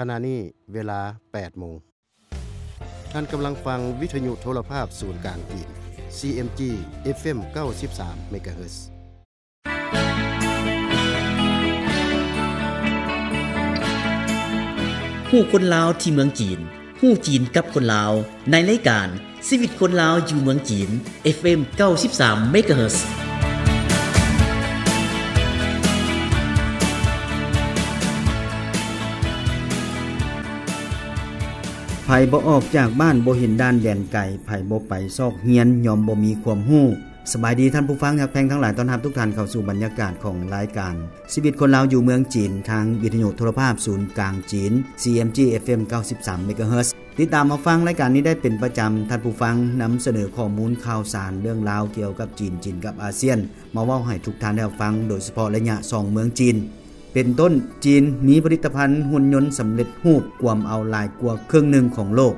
ຂະນະນີ້ເວລາແປດໂມງ. ທ່ານກຳລັງຟັງວິທະຍຸໂທລະພາບສູນກາງຈີນ ຊີເອັມຈີ ເອັຟເອັມ ເກົ້າສິບສາມ ເມກາເຮີດ. ຮູ້ຄົນລາວທີ່ເມືອງຈີນ, ຮູ້ຈີນກັບຄົນລາວ ໃນລາຍການຊີວິດຄົນລາວຢູ່ເມືອງຈີນ ເອັຟເອັມ ເກົ້າສິບສາມ ເມກາເຮີດ. ໃຜບໍ່ອອກຈາກບ້ານ ບໍ່ເຫັນດ່ານແດນໄກ, ໃຜບໍ່ໄປຊອກຮຽນ ຍ່ອມບໍ່ມີຄວາມຮູ້. ສະບາຍດີທ່ານຜູ້ຟັງຮັກແພງທັງຫຼາຍ, ຕ້ອນຮັບທຸກທ່ານເຂົ້າສູ່ບັນຍາກາດຂອງລາຍການຊີວິດຄົນລາວຢູ່ເມືອງຈີນ ທາງວິທະຍຸໂທລະພາບສູນກາງຈີນ ຊີເອັມຈີ ເອັຟເອັມ ເກົ້າສິບສາມ ເມກາເຮີດ. ຕິດຕາມຮັບຟັງລາຍການນີ້ໄດ້ເປັນປະຈຳ. ທ່ານຜູ້ຟັງນຳສະເໜີຂໍ້ມູນຂ່າວສານເລື່ອງລາວກ່ຽວກັບຈີນ, ຈີນກັບອາຊຽນ ມາເວົ້າໃຫ້ທຸກທ່ານໄດ້ຮັບຟັງ, ໂດຍສະເພາະໄລຍະສອງເມືອງຈີນ. ເປັນຕົ້ນ, ຈີນມີຜະລິດຕະພັນຫຸ່ນຍົນສຳເລັດຮູບກວມເອົາຫຼາຍກວ່າເຄິ່ງໜຶ່ງຂອງໂລກ.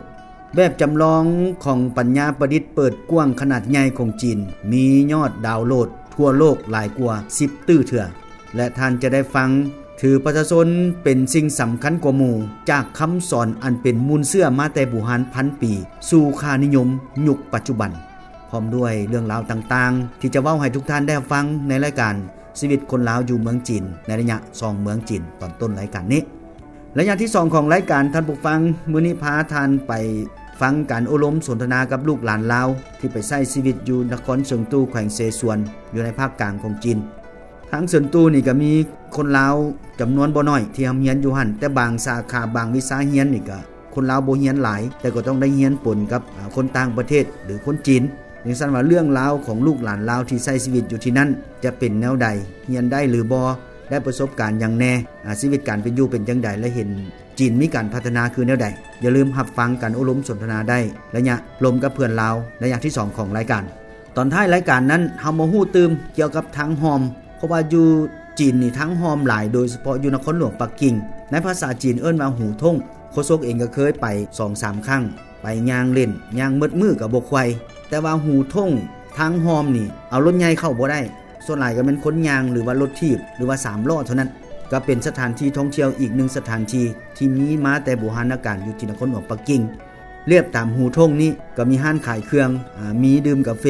ແບບຈຳລອງຂອງປັນຍາປະດິດເປີດກວ້າງຂະໜາດໃຫຍ່ຂອງຈີນ ມີຍອດດາວໂຫຼດທົ່ວໂລກຫຼາຍກວ່າສິບຕື້ເທື່ອ ແລະ ທ່ານຈະໄດ້ຟັງຖືປະຊາຊົນເປັນສິ່ງສຳຄັນກວ່າໝູ່ ຈາກຄຳສອນອັນເປັນມູນເຊື້ອມາແຕ່ບູຮານພັນປີ ສູ່ຄ່ານິຍົມຍຸກປັດຈຸບັນ, ພ້ອມດ້ວຍເລື່ອງລາວຕ່າງໆ ທີ່ຈະເວົ້າໃຫ້ທຸກທ່ານໄດ້ຮັບຟັງໃນລາຍການ ຊີວິດຄົນລາວຢູ່ເມືອງຈີນ ໃນໄລຍະສອງເມືອງຈີນ ຕອນຕົ້ນລາຍການນີ້. ໄລຍະທີສອງຂອງລາຍການ, ທ່ານຜູ້ຟັງ, ມື້ນີ້ພາທ່ານໄປຟັງການໂອ້ລົມສົນທະນາກັບລູກຫຼານລາວ ທີ່ໄປໃຊ້ຊີວິດຢູ່ນະຄອນເຊິງຕູ ແຂວງເຊຊວນ ຢູ່ໃນພາກກາງຂອງຈີນ. ທາງເຊິນຕູນີ້ກໍມີຄົນລາວຈຳນວນບໍ່ໜ້ອຍທີ່ຮ່ຳຮຽນຢູ່ຫັ້ນ, ແຕ່ບາງສາຂາ, ບາງວິຊາຮຽນນີ້ກໍ ຄົນລາວບໍ່ຮຽນຫຼາຍ ແຕ່ກໍຕ້ອງໄດ້ຮຽນປົນກັບ ອາ ຄົນຕ່າງປະເທດ ຫຼື ຄົນຈີນ. ຈັ່ງຊັ້ນວ່າ ເລື່ອງລາວຂອງລູກຫຼານລາວທີ່ໃຊ້ຊີວິດຢູ່ທີ່ນັ້ນຈະເປັນແນວໃດ, ຮຽນໄດ້ຫຼືບໍ່, ໄດ້ປະສົບການຫຍັງແດ່, ອາ ຊີວິດການເປັນຢູ່ເປັນຈັ່ງໃດ ແລະ ເຫັນຈີນມີການພັດທະນາຄືແນວໃດ. ຢ່າລືມຮັບຟັງການໂອ້ລົມສົນທະນາໄດ້ ໄລຍະລົມກັບເພື່ອນລາວ ໄລຍະທີສອງຂອງລາຍການ. ຕອນທ້າຍລາຍການນັ້ນ ເຮົາມາຮູ້ຕື່ມກ່ຽວກັບທາງຮ່ອມ, ເພາະວ່າຢູ່ຈີນນີ້ທາງຮ່ອມຫຼາຍ, ໂດຍສະເພາະຢູ່ນະຄອນຫຼວງປັກກິ່ງ. ໃນພາສາຈີນເອີ້ນວ່າຫູທົ່ງ. ໂຄສົກເອງກໍເຄີຍໄປສອງສາມຄັ້ງ, ໄປຍ່າງຫຼິ້ນ, ຍ່າງໝົດມື້ກໍບໍ່ໄຂວ່. ແຕ່ວ່າຫູທົ່ງທາງຮ່ອມນີ້ ເອົາລົດໃຫຍ່ເຂົ້າບໍ່ໄດ້, ສ່ວນຫຼາຍກໍແມ່ນຄົນຍ່າງ ຫຼືວ່າລົດຖີບ ຫຼືວ່າສາມລໍ້ເທົ່ານັ້ນ. ກໍເປັນສະຖານທີ່ທ່ອງທ່ຽວອີກໜຶ່ງສະຖານທີ່ ທີ່ມີມາແຕ່ບູຮານນະການຢູ່ທີ່ນະຄອນຫຼວງປັກກິ່ງ. ລຽບຕາມຫູທົ່ງນີ້ກໍມີຮ້ານຂາຍເຄື່ອງ, ອາ, ມີດື່ມກາເຟ,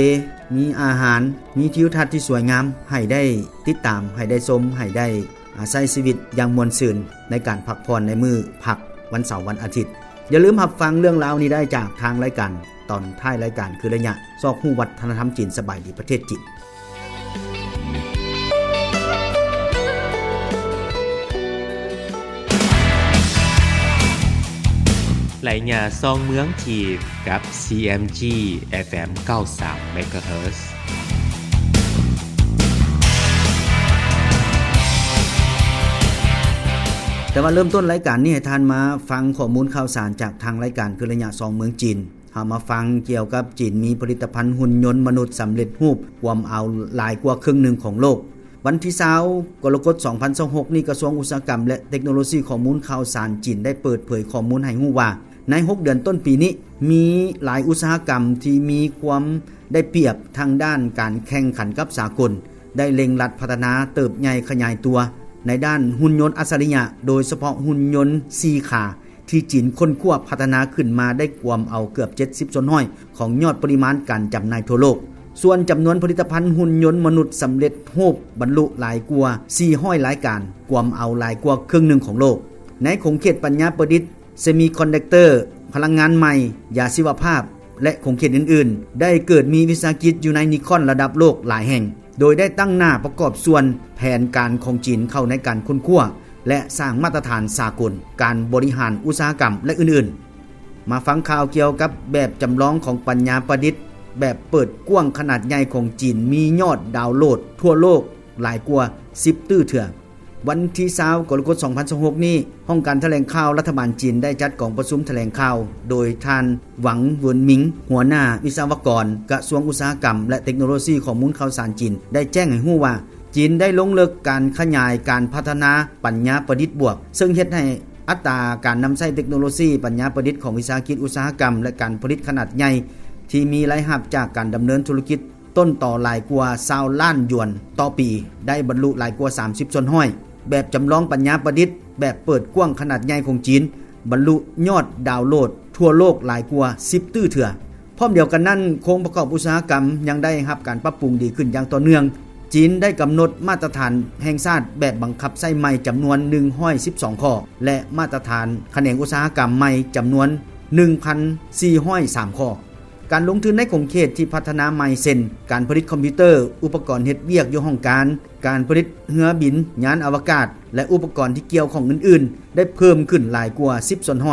ມີອາຫານ, ມີທິວທັດທີ່ສວຍງາມໃຫ້ໄດ້ຕິດຕາມ, ໃຫ້ໄດ້ຊົມ, ໃຫ້ໄດ້, ອາ, ໃຊ້ຊີວິດຢ່າງມ່ວນຊື່ນໃນການພັກຜ່ອນໃນມື້ພັກວັນເສົາວັນອາທິດ. ຢ່າລືມຮັບຟັງເລື່ອງລາວນີ້ໄດ້ຈາກທາງລາຍການ ຕອນທ້າຍລາຍການ ຄືໄລຍະຊອກຮູ້ວັດທະນະທຳຈີນ. ສະບາຍດີປະເທດຈີນ. ໄລຍະສອງເມືອງຈີນ ກັບ ຊີເອັມຈີ ເອັຟເອັມ ເກົ້າສິບສາມ ເມກາເຮີດ. ແຕ່ວ່າເລີ່ມຕົ້ນລາຍການນີ້ ໃຫ້ທ່ານມາຟັງຂໍ້ມູນຂ່າວສານຈາກທາງລາຍການ ຄືໄລຍະສອງເມືອງຈີນ. ເຮົາມາຟັງກ່ຽວກັບຈີນມີຜະລິດຕະພັນຫຸ່ນຍົນມະນຸດສຳເລັດຮູບກວມເອົາຫຼາຍກວ່າເຄິ່ງໜຶ່ງຂອງໂລກ. ວັນທີຊາວ ກໍລະກົດ ສອງພັນຊາວຫົກນີ້, ກະຊວງອຸດສາຫະກຳ ແລະ ເຕັກໂນໂລຊີຂໍ້ມູນຂ່າວສານຈີນໄດ້ເປີດເຜີຍຂໍ້ມູນໃຫ້ຮູ້ວ່າ ໃນຫົກເດືອນຕົ້ນປີນີ້ ມີຫຼາຍອຸດສາຫະກຳທີ່ມີຄວາມໄດ້ປຽບທາງດ້ານການແຂ່ງຂັນກັບສາກົນ ໄດ້ເລັ່ງລັດພັດທະນາເຕີບໃຫຍ່ຂະຫຍາຍຕົວໃນດ້ານຫຸ່ນຍົນອັດສະລິຍະ, ໂດຍສະເພາະຫຸ່ນຍົນສີ່ຂາ ທີ່ຈີນຄົ້ນຄວ້າພັດທະນາຂຶ້ນມາໄດ້ກວມເອົາເກືອບເຈັດສິບສ່ວນຮ້ອຍຂອງຍອດປະລິມານການຈຳໜ່າຍທົ່ວໂລກ. ສ່ວນຈຳນວນຜະລິດຕະພັນຫຸ່ນຍົນມະນຸດສຳເລັດຮູບບັນລຸຫຼາຍກວ່າສີ່ຮ້ອຍລາຍການ, ກວມເອົາຫຼາຍກວ່າເຄິ່ງໜຶ່ງຂອງໂລກ. ໃນຂົງເຂດປັນຍາປະດິດ, ເຊມີຄອນດັກເຕີ, ພະລັງງານໃໝ່, ຢາຊີວະພາບ ແລະ ຂົງເຂດອື່ນໆ, ໄດ້ເກີດມີວິສາຫະກິດຢູ່ໃນນິຄອນລະດັບໂລກຫຼາຍແຫ່ງ, ໂດຍໄດ້ຕັ້ງໜ້າປະກອບສ່ວນແຜນການຂອງຈີນເຂົ້າໃນການຄົ້ນຄວ້າ ແລະ ສ້າງມາດຕະຖານສາກົນການບໍລິຫານອຸດສາຫະກຳ ແລະ ອື່ນໆ. ມາຟັງຂ່າວກ່ຽວກັບແບບຈຳລອງຂອງປັນຍາປະດິດ ແບບເປີດກວ້າງຂະໜາດໃຫຍ່ຂອງຈີນ ມີຍອດດາວໂຫຼດທົ່ວໂລກຫຼາຍກວ່າສິບຕື້ເທື່ອ. ວັນທີຊາວ ກໍລະກົດ ສອງພັນຊາວຫົກນີ້, ຫ້ອງການຖະແຫຼງຂ່າວລັດຖະບານຈີນໄດ້ຈັດກອງປະຊຸມຖະແຫຼງຂ່າວ ໂດຍທ່ານ ຫວັງ ເຫວິນມິງ, ຫົວໜ້າວິສະວະກອນກະຊວງອຸດສາຫະກຳ ແລະ ເຕັກໂນໂລຊີຂໍ້ມູນຂ່າວສານຈີນ ໄດ້ແຈ້ງໃຫ້ຮູ້ວ່າ ຈີນໄດ້ລົງເລິກການຂະຫຍາຍການພັດທະນາປັນຍາປະດິດບວກ, ເຊິ່ງເຮັດໃຫ້ອັດຕາການນຳໃຊ້ເຕັກໂນໂລຊີປັນຍາປະດິດຂອງວິສາຫະກິດອຸດສາຫະກຳ ແລະ ການຜະລິດຂະໜາດໃຫຍ່ ທີ່ມີລາຍຮັບຈາກການດຳເນີນທຸລະກິດ ຕົ້ນຕໍຫຼາຍກວ່າຊາວລ້ານຢວນຕໍ່ປີ ໄດ້ບັນລຸຫຼາຍກວ່າສາມສິບສ່ວນຮ້ອຍ. ແບບຈຳລອງປັນຍາປະດິດ ແບບເປີດກວ້າງຂະໜາດໃຫຍ່ຂອງຈີນ ບັນລຸຍອດດາວໂຫຼດທົ່ວໂລກຫຼາຍກວ່າສິບຕື້ເທື່ອ. ພ້ອມດຽວກັນນັ້ນ, ໂຄງປະກອບອຸດສາຫະກຳຍັງໄດ້ຮັບການປັບປຸງດີຂຶ້ນຢ່າງຕໍ່ເນື່ອງ. ຈີນໄດ້ກຳນົດມາດຕະຖານແຫ່ງຊາດແບບບັງຄັບໃຊ້ໃໝ່ຈຳນວນໜຶ່ງຮ້ອຍສິບສອງຂໍ້ ແລະ ມາດຕະຖານຂະແໜງອຸດສາຫະກຳໃໝ່ຈຳນວນໜຶ່ງພັນສີ່ຮ້ອຍສາມຂໍ້. ການລົງທຶນໃນຂົງເຂດທີ່ພັດທະນາໃໝ່ ເຊັ່ນ ການຜະລິດຄອມພິວເຕີ, ອຸປະກອນເຮັດວຽກຢູ່ຫ້ອງການ, ການຜະລິດເຮືອບິນ, ຍານອະວະກາດ ແລະ ອຸປະກອນທີ່ກ່ຽວຂ້ອງອື່ນໆ ໄດ້ເພີ່ມຂຶ້ນຫຼາຍກວ່າສິບສ່ວນຮ້ອຍ.